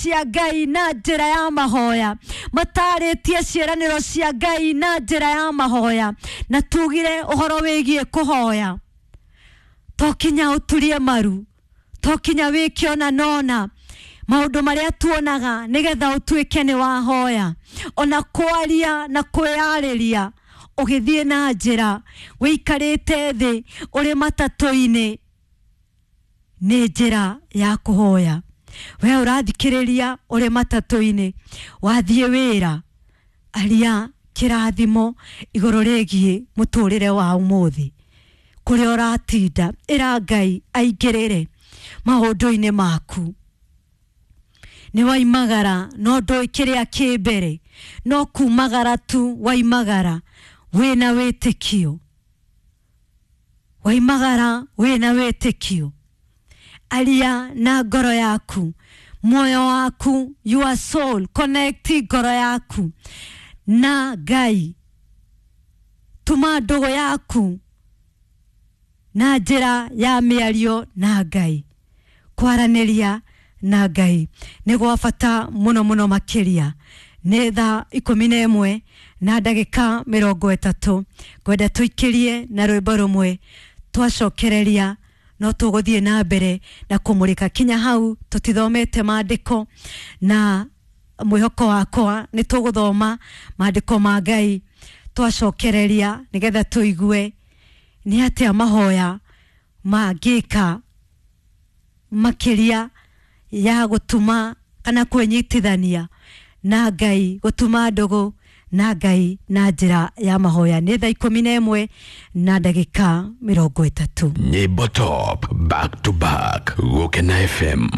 Cia Ngai na njĩra ya mahoya, matarĩtie ciĩranĩro cia Ngai na njĩra ya mahoya. Na tugire ũhoro wĩgiĩ kũhoya, to kinya ũturie maru, to kinya wĩke ona nona maũndũ marĩa tuonaga nĩgetha ũtuĩke nĩ wahoya. Ona kwaria na kwĩyarĩria ũgĩthiĩ na njĩra, wĩikarĩte thĩ, ũrĩ matatũ-inĩ, nĩ njĩra ya kũhoya. We ũrathikĩrĩria ũrĩ matatũ-inĩ, wathiĩ wĩra, aria kĩrathimo igũrũ rĩgiĩ mũtũrĩre wa ũmũthĩ kũrĩa ũratinda. Ĩra Ngai aingĩrĩre maũndũ-inĩ maku. Nĩ waimagara no ndũĩ kĩrĩa kĩ mbere, no kumagara tu waimagara wĩna wĩtĩkio, waimagara wĩna wĩtĩkio. Aria na ngoro yaku, muoyo waku, your soul, connect ngoro yaku na Ngai. Tuma ndũgũ yaku na njĩra ya mĩario na Ngai. Kwaranĩria na Ngai nĩ gwa bata mũno mũno makĩria. Nĩ thaa 11 na ndagĩka 30. Ngwenda tũikĩrie na rwĩmbo rũmwe, twacokereria no tũgũthiĩ na mbere na kũmũrĩka kinya hau tũtithomete maandĩko, na mwĩhoko wakwa nĩ tũgũthoma maandĩko ma Ngai twacokereria, nĩgetha tũigue nĩ atĩa mahoya mangĩka makĩria ya gũtuma kana kwĩnyitithania na Ngai, gũtuma ndũgũ na Ngai na njĩra ya mahoya. Nĩ thaa 11 na ndagĩka 30. Nyimbo top back to back, Gukena FM.